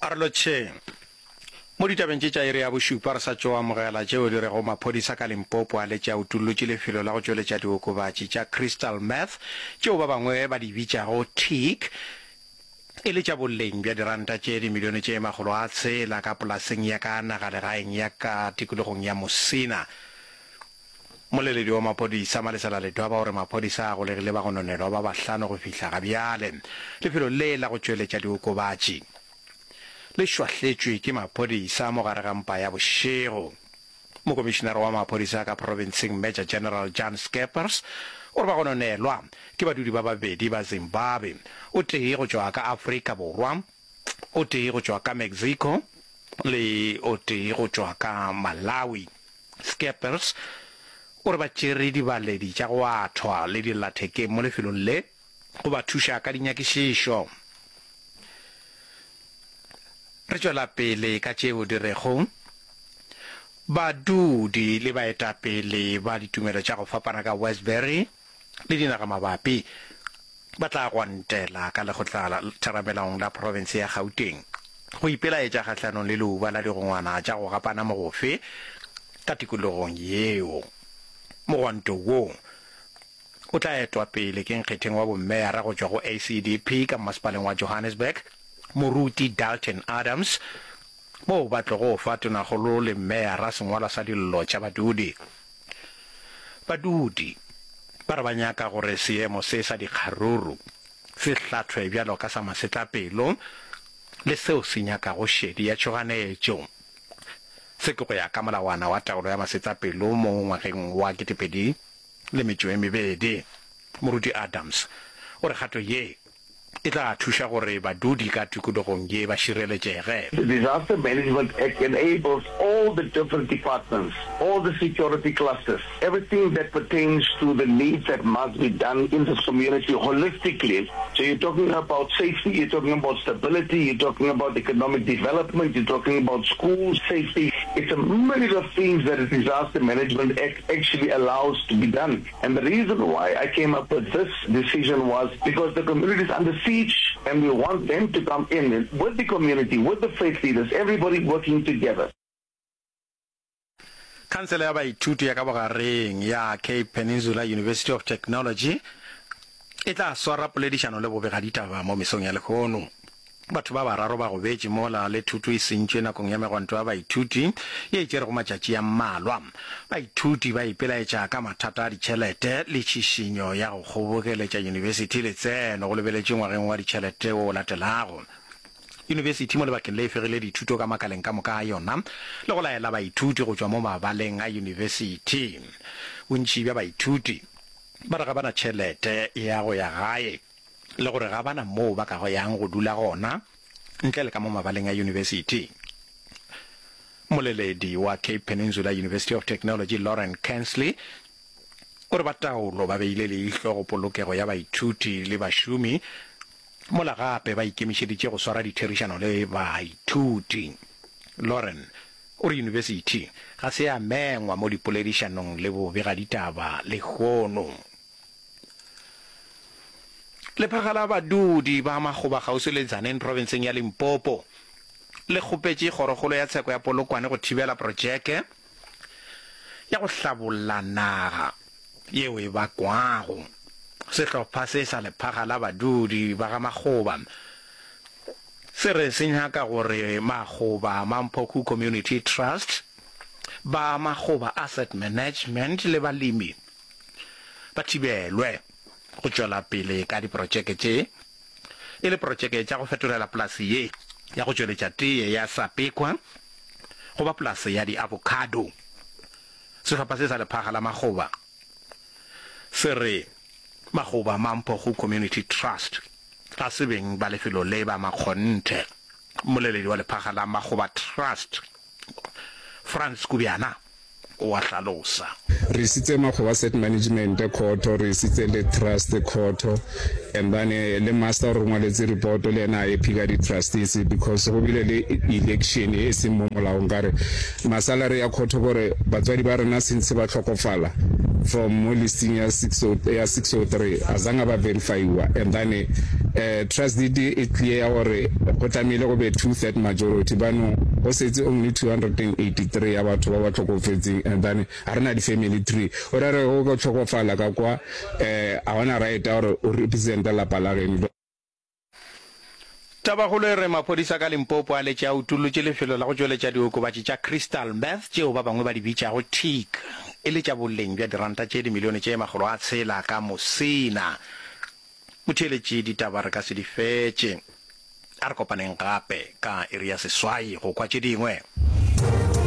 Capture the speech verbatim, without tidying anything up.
A re lotšheng. Mo ditabeng tše tša iri ya bošupa re sa tšo amogela tšeo di rego maphodisa ka Limpopo a letše a utollotše lefelo la go tšweletša diokobatši tša crystal meth tšeo ba bangwe ba di bitšago tik e le tša boleng bja diranta tše dimilione tše makgolo a tshela ka polaseng ya ka nagalegaeng ya ka tikologong ya Musina. Mmoleledi wa maphodisa Malesela Ledwaba o re maphodisa a golegile bagononelwa ba bahlano go fihla ga bjale. Lefelo le la go tšweletša diokobatši le šwahletšwe ke maphodisa mo gare ga mpa ya bošego. Mokomišinara wa maphodisa ka profenseng Major General Jan Scheepers o re bagononelwa ke badudi ba babedi ba Zimbabwe, o tee go tšwa ka Afrika Borwa, o tee go tšwa ka Mexico le o tee go tšwa ka Malawi. Scheepers o re ba tšere dibaledi tša go athwa le dillathekeng mo lefelong le go ba thuša ka dinyakišišo. Re tšwela pele ka tšeo di rego badudi le baetapele ba ditumelo tša go fapana ka Westbury le dinagamabapi ba tla gwantela ka lekgotlatheramelaong la profense ya Gauteng go ipelaetša kgahlanong le leuba la digongwana tša go gapana mogofe ka tikologong yeo. Mogwanto wo o tla etwa pele ke nkgetheng wa bommeyara go tšwa go A C D P ka mmasepaleng wa Johannesburg, Moruti Dalton Adams, moo ba tlogo fa tonakgolo le mmeyara sengwalwa sa dillo tša badudi. Badudi ba re ba nyaka gore seemo se sa dikgaruru se hlathwe bjalo ka sa masetlapelo le seo se nyakago šedi ya tšhoganetšo. Se ke go ya ka molawana wa taolo ya masetlapelo mo ngwageng wa ketepedi le metšo e mebedi. Moruti Adams o re kgato ye e tla thuša gore badudi ka tikologong ye ba šireletšege. The Disaster Management Act enables all the different departments, all the security clusters, everything that pertains to the needs that must be done in this community holistically. So you're talking about safety, you're talking about stability, you're talking about economic development, you're talking about school safety. It's a myriad of things that the Disaster Management Act actually allows to be done. And the reason why I came up with this decision was because the community is under siege and we want them to come in with the community, with the faith leaders, everybody working together. Khansele ya baithuti ya ka bogareng ya Cape Peninsula University of Technology e tla swara poledišano le bobegaditaba mo mesong ya lehono. Batho ba bararo ba gobetše mola le thuto e sentšwe nakong ya megwanto ya baithuti ye e tšerego matšatši a mmalwa. Baithuti ba ipelaetša ka mathata a ditšhelete le tšhišinyo ya go kgobokeletša yunibesithi letseno go lebeletšwe ngwageng wa ditšhelete wo o latelago. Yunibesithi mo lebakeng le e fegile dithuto ka makaleng ka moka a yona le go laela baithuti go tšwa mo mabaleng a yunibesithi. Bontši bja baithuti ba re ga ba na tšhelete ya go ya gae le gore ga ba na moo ba ka yang go dula gona ntle le ka mo mabaleng a yunibesithi. Mmoleledi wa Cape Peninsula University of Technology Lauren Kansley o re ba taolo ba beile leihlo go polokego ya baithuti le bašomi mola gape ba ikemišeditše go swara ditherišano le baithuti. Lauren o re yunibesithi ga se ya mengwa mo dipoledišanong le bobegaditaba lehono. Lephaga la badudi ba Makgoba kgauswi le Tzaneen profenseng ya Limpopo le kgopetše kgorokgolo ya tsheko ya Polokwane go thibela projeke ya go hlabolla naga yeo e bakwago. Sehlopha se sa lephaga la badudi ba ga Makgoba se re se nyaka gore Makgoba Mamphoku Community Trust, ba Makgoba Asset Management le balemi ba thibelwe go tšwela pele ka diprotšeke tše e le protšeke tša go fetolela polase ye ya go tšweletša teye ya Sapekwa go ba polase ya di-avocado. Sehlopha se sa lephaga la Makgoba se re Makgoba Mamphogo Community Trust ga se beng ba lefelo le ba makgonthe. Mmoleledi wa lephaga la Makgoba Trust, Frans Kubyana, o a hlalosa. Re isitse Makgoba Asset Management khoto, re isitse le Trust khoto, and then le master o re ngwaletse report le yena a happy ka di-trustees because go bile le election e seng mo molaong ka re masalary ya khoto kore batswadi ba rena since ba hlokofala from mo listing ya six ya six oh three azange ba verifyiwa, and then Eh trust deed e clear ya gore go tlamehile go be two third majority banong go setse only two hundred and eighty three ya batho ba ba hlokofetseng and then ga re na di family tree o ra re go ka hlokofala ka kwa eh a gona right ya gore o represent lapa la geno. Tabakgolo e re maphodisa ka Limpopo a letše a utollotše lefelo la go tšweletša diokobatši tša crystal meth tšeo ba bangwe ba di bitšago tik e le tša boleng bja diranta tše dimilione tše makgolo a tshela ka Musina. Motheeletši, ditaba re ka se di fetše. A re kopaneng gape ka iri ya seswai go kwa tše dingwe.